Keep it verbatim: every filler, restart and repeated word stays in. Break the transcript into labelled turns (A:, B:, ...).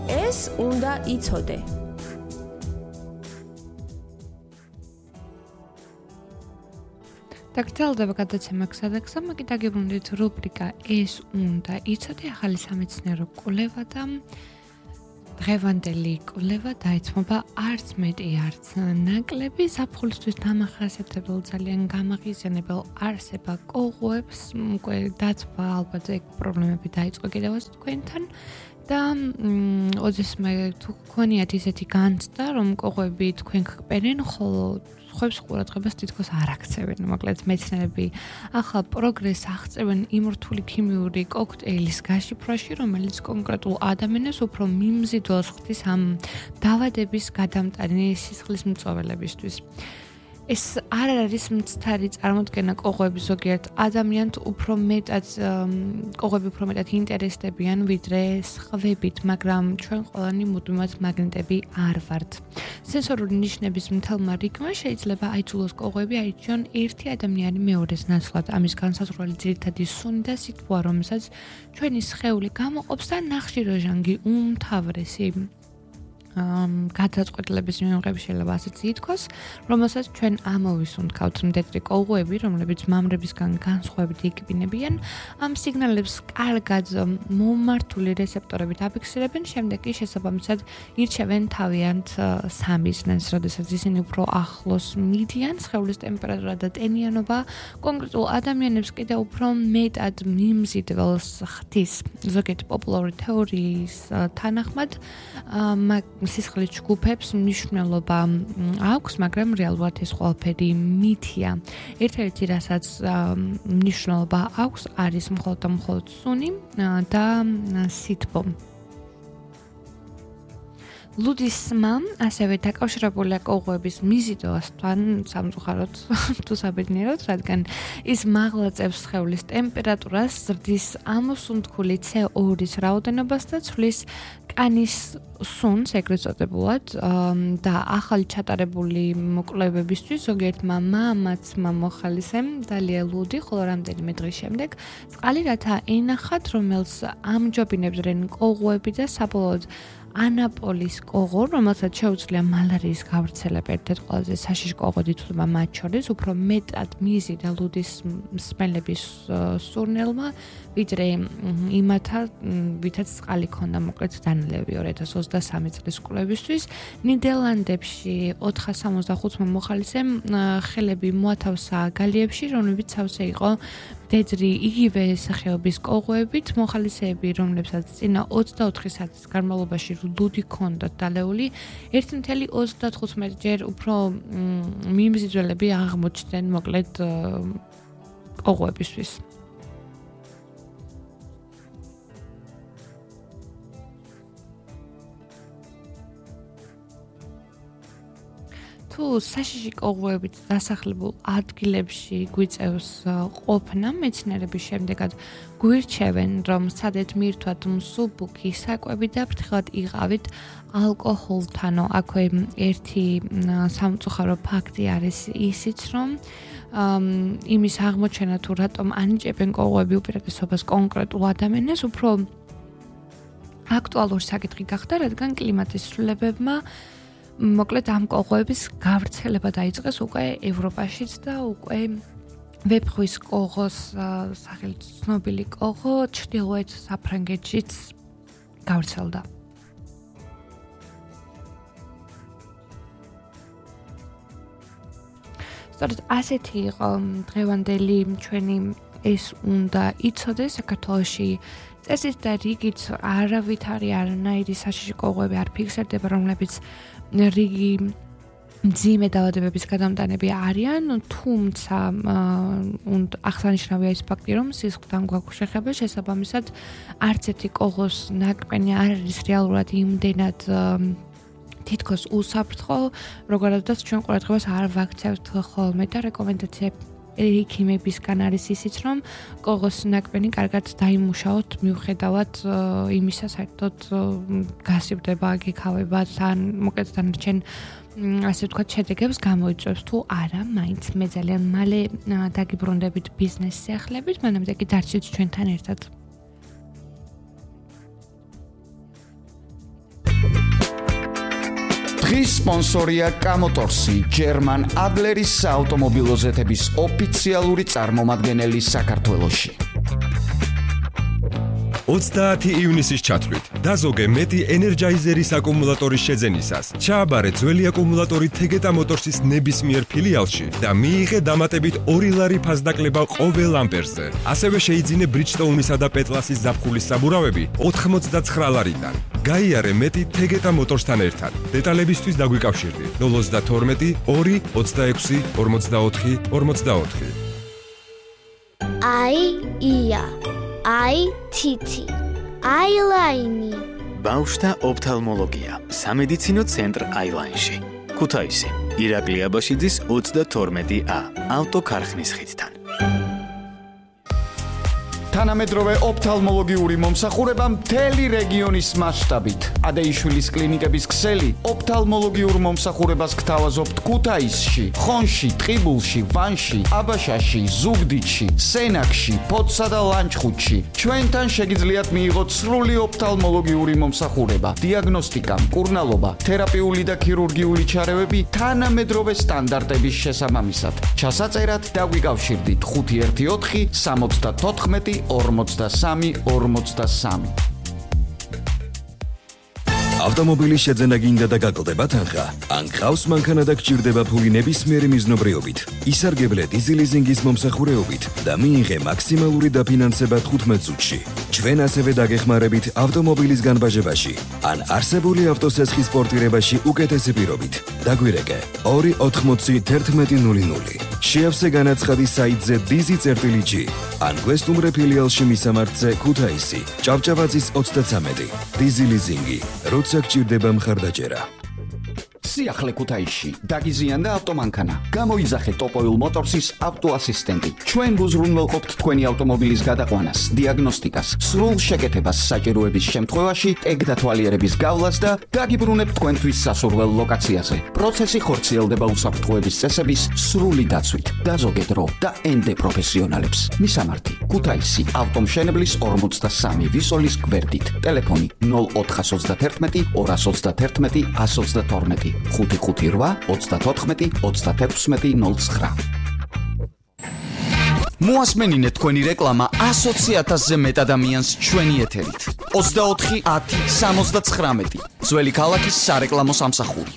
A: ეს უნდა იცოდე.
B: დაგრძელდება გადაცემა გზადაგზა, მე კი დაგიბრუნდით რუბრიკა ეს უნდა იცოდე, ახალი სამეცნიერო კვლევა და დღევანდელი კვლევა დაეთმობა არც მეტი, არც ნაკლები ზაფხულისთვის დამახასიათებელ ძალიან გამაღიზიანებელ არსება კოღოებს, უკვე დათვა ალბათ ეგ პრობლემები დაიწყო კიდევაც თქვენთან და ოდესმე თუ გქონიათ ისეთი განცდა, რომ კოღოები თქვენ გყბენენ, ხოლო ხუებს ყურადღებას თითქოს არ აქცევენ, მოკლედ მეცნიერები ახალ პროგრესს აღწევენ იმ რთული ქიმიური კოქტეილის გაშიფრვაში, რომელიც კონკრეტულ ადამიანებს უფრო მიმზიდველს ხდის ამ დაავადების გადამტანი სისხლის მწოველებისთვის. ეს არ არის მცდარი წარმოდგენა კოღოების ზოგიერთ ადამიანთ უფრო მეტად კოღოები უფრო მეტად ინტერესდებიან ვიდრე სხვებით, მაგრამ ჩვენ ყველანი მუდმივად მაგნიტები არ ვართ. სენსორული ნიშნების მთელმა რიგმა შეიძლება აიძულოს კოღოები აირჩიონ ერთი ადამიანი მეორეს ნაცვლად. ამის განსაზღვრელი ძირითადი სუნი და სიტყვა, რომელსაც ჩვენი სხეული გამოყოფს და ნახშირორჟანგი უმთავრესი გადაწყვეტილების მიღების შეიძლება ასეც ითქვას, რომელსაც ჩვენ ამოვისუნთქავთ მდედრი კოღოები, რომლებიც მამრებისგან განსხვავებით იკბინებიან, ამ სიგნალებს კარგად მომართული რეცეპტორებით აფიქსირებენ, შემდეგ კი შესაბამისად ირჩევენ თავიანთ სამიზნეს, როდესაც ისინი უფრო ახლოს მიდიან, სხეულის ტემპერატურა და ტენიანობა კონკრეტულ ადამიანებს კიდევ უფრო მეტად მიმზიდველს ხდის. ზოგიერთი პოპულარული თეორიის თანახმად სისხლის ჯგუფებს მნიშვნელობა აქვს, მაგრამ რეალურად ეს ყველაფერი მითია. ერთ-ერთი რასაც მნიშვნელობა აქვს, არის მხოლოდ და მხოლოდ სუნი და სითბო. ლუდისმა ასევე დაკავშირებულია კოღოების მიზიდვასთან სამწუხაროდ თუ საბედნიეროდ, რადგან ის მაღლაწევს სხეულის ტემპერატურას, ზრდის ამოსუნთქული ცე ორის რაოდენობას და ცვლის კანის სუნს, ეგრეთ წოდებულად, და ახალი ჩატარებული კვლევებისთვის ზოგიერთმა მამაცმა მოხალისემ დალია ლუდი, ხოლო რამდენიმე დღის შემდეგ წყალი რათა ენახათ, რომელს ამჯობინებდნენ კოღოები და საბოლოოდ ანაპოლის კოღო, რომელსაც შეუძლია მალარიის გავრცელება, ერთ-ერთ ყველაზე საშიში კოღოდ ითვლება მათ შორის, უფრო მეტად მიზიდა ლუდის მსმელების სურნელმა, ვიდრე იმათა, ვითაც წყალი ქონდა, მოკლედ დანალევი ორი ათას ოცდასამი წლის კვლევისთვის. ნიდერლანდებში ოთხას სამოცდახუთმა მოხალისემ ხელები მოათავსა გალიებში, რომლებიც სავსე იყო მდედრი იგივე სახეობის კოღოებით, მოხალისეები, რომლებსაც წინა ოცდაოთხი საათის განმავლობაში ლუდი ქონდათ დალეული, ერთი წუთი ოცდათხუთმეტ ჯერ უფრო მიმზიდველები აღმოჩნდნენ, მოკლედ კოღოებისთვის. თუ საშიში კოღოებით დასახლებულ ადგილებში გვიწევს ყოფნა, მეცნიერების შემდეგად გვირჩევენ, რომ სადეთ მირთვათ მსუბუქი საკვები და ფრთხილად იყავით ალკოჰოლთანო. აქვე ერთი სამწუხარო ფაქტი არის ისიც, რომ იმის აღმოჩენა თუ რატომ ანიჭებენ კოღოები უპირატესობას კონკრეტულ ადამიანებს, უფრო აქტუალური საკითხი გახდა, რადგან კლიმატის ცვლილებებმა მოკლედ ამ კოღოების გავრცელება დაიწყეს უკვე ევროპაშიც და უკვე ვეფხვის კოღოს სახელით ცნობილი კოღო ჩრდილოეთ საფრანგეთშიც გავრცელდა. სწორედ ასეთი იყო დღევანდელი ჩვენი ეს უნდა იცოდე საქართველოში წესით და რიგით არავით არის არანაირი საშიში კოღოები არ ფიქსირდება, რომლებიც რიგი მძიმე დაავადებების გადამტანები არიან, თუმცა აღსანიშნავია ის ფაქტი, რომ სისხლთან გვაქვს შეხება, შესაბამისად არც ერთი კოღოს ნაკბენი არ არის რეალურად იმდენად თითქოს უსაფრთხო, როგორადაც ჩვენ ყურადღებას არ ვაქცევთ ხოლმე და რეკომენდაცია ექიმებისგან არის ისიც, რომ კოღოს ნაკბენი კარგად დაიმუშაოთ, მიუხედავად იმისა, საერთოდ გასივდება, გიქავება, თან მოკლედ დანარჩენ ასე ვთქვათ, შედეგებს გამოიწვევს თუ არა, მაინც მე ძალიან მალე დაგიბრუნდებით ბიზნეს სიახლეებით, მანამდე კი დარჩით ჩვენთან ერთად.
C: დღის სპონსორია კამოტორსი, ჯერმან ადლერის საავტომობილო ზეთების ოფიციალური წარმომადგენელი საქართველოში.
D: ოცდაათი ივნისის ჩათვლით დაზოგე მეტი ენერჯაიზერის აკუმულატორის შეძენისას. ჩააბარე ძველი აკუმულატორი თეგეტა მოტორსის ნებისმიერ ფილიალში და მიიღე დამატებით ორი ლარი ფასდაკლება ყოველ ამპერზე. ასევე შეიძინე ბრიჯსტოუნისა და პეტლასის ზაფხულის საბურავები ოთხმოცდაცხრა ლარიდან. გაიარე მეტი თეგეტა მოტორსთან ერთად. დეტალებისთვის დაგვიკავშირდი ნულ ოცდათორმეტი ორი ოცდაექვსი ორმოცდაოთხი ორმოცდაოთხი.
E: აი ია აი თითი აილაინი
F: ბავშვთა ოფთალმოლოგია სამედიცინო ცენტრ აილაინში ქუთაისი ირაკლი აბაშიძის ოცდათორმეტი ა ავტოქარხნის ხიდთან
C: თანამედროვე ოფთალმოლოგიური მომსახურება მთელი რეგიონის მასშტაბით. ადეიშვილის კლინიკების ქსელი ოფთალმოლოგიურ მომსახურებას გთავაზობთ ქუთაისში, ხონში, ტყიბულში, ვანში, აბაშაში, ზუგდიდში, სენაკში, ფოთსა და ლანჩხუთში. ჩვენთან შეგიძლიათ მიიღოთ სრული ოფთალმოლოგიური მომსახურება, დიაგნოსტიკა, მკურნალობა, თერაპიული და ქირურგიული ჩარევები თანამედროვე სტანდარტების შესაბამისად. ჩასაწერად დაგვიკავშირდით ხუთი ერთი ოთხი სამოცდათოთხმეტი ორმოცდასამი ორმოცდასამი.
G: ავტომობილის შეძენა გინდა და გაკლდება თანხა? ან გყავს მანქანა და გჭირდება ფული ნებისმიერი მიზნობრიობით? ისარგებლე დიზელიზინგის მომსახურეობით და მიიღე მაქსიმალური დაფინანსება თხუთმეტ წუთში. ჩვენ ასევე დაგეხმარებით ავტომობილის განბაჟებაში ან არსებული ავტოსესხის პორტირებაში უკეთესი პირობით. დაგვირეკე ორი ოთხმოცი თერთმეტი ნული ნული. შეავსე განაცხადი საიტზე დიზი წერტილი ჯი ან გვესტუმრე ფილიალში მისამართზე ქუთაისი, ჭავჭავაძის ოცდათვრამეტი. დიზელიზინგი როცა გჭირდება მხარდაჭერა.
C: სიახლე ქუთაისში დაგიზიანდა ავტომანქანა. გამოიძახე ტოპოილ მოტორსის ავტოასისტენტი. ჩვენ გუზრუნველყოფთ თქვენი ავტომობილის გადაყვანას, დიაგნოსტიკას, სრულ შეკეთებას საჭიროების შემთხვევაში, ეგდათვალიერების გავლას და დაგიბრუნებთ თქვენთვის სასურველ ლოკაციაზე. პროცესი ხორციელდება უსაფრთხოების წესების სრული დაცვით. დაზოგე დრო და ენდე პროფესიონალებს. მისამართი: ქუთაისი, ავტომშენებლის ორმოცდასამი ვისოლის გვერდით. ტელეფონი ნულ ოთხას ოცდათერთმეტი ორას ოცდათერთმეტი ას ოცდათორმეტი. ხუთი ხუთი რვა ოცდათოთხმეტი ოცდათექვსმეტი ნული ცხრა. მოასმენინეთ თქვენი რეკლამა ასოცი ათასზე მეტ ადამიანს ჩვენი ეთერით. ოცდაოთხი ათი სამოცდაცხრამეტი. ძველი ქალაქის სარეკლამო სამსახური.